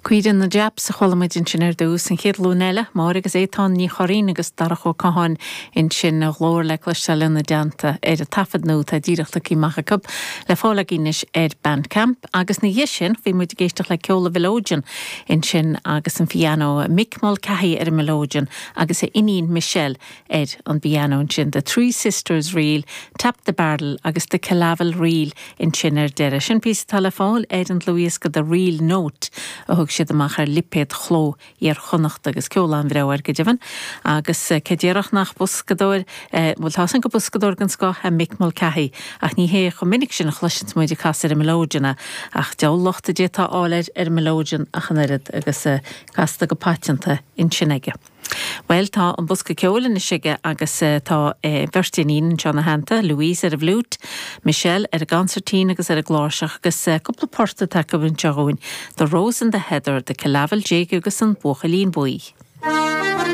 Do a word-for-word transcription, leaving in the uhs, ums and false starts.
Caoire na Japs a chuala muid ansin ar dtús an chéad ghlúin eile, Máire agus Étáin Ní Churraoin agus Darach Ó Catháin ansin a nglór le cloisteáil ina dteannta ar an taifead nua atá díreach tagtha amach acu le fáil againn anois ar Bandcamp agus ina dhiaidh sin bhí muid ag éisteacht le ceol an mhileoidean ansin agus an pianó Mick Mulcahy ar an mileoidean agus a iníon Michelle ar an bpianó ansin The Three Sisters Reel, Tap the Barrel agus The Killavil Reel ansin ar deireadh. Sin píosa atá le fáil ar an dlúthdhiosca The Reel Note a thug siad amach ar lipéad Chló Iar-Chonnacht agus ceol an-bhreá air go deimhin agus cé déarfadh nach boscadóir bhuel tá san go boscadóir den scoth é Mick Mulcahy ach ní hé chomh minic sin a chloiseann muid ag casadh ar an mileoidean é ach deabhal locht a d'fhéadfá a fháil air ar an mileoidean ach an oiread agus casta go paiteanta ansin aige. Well tá an bosca ceoil anois aige agus tá beirt iníon anseo ina theannta, Louise ar an bhfliúit, Michelle ar an gconsairtín agus ar an gcláirseach agus cúpla port atá acu anseo dhúinn, The Rose and the Heather, The Killavil Jig agus an Buachaillín Buí.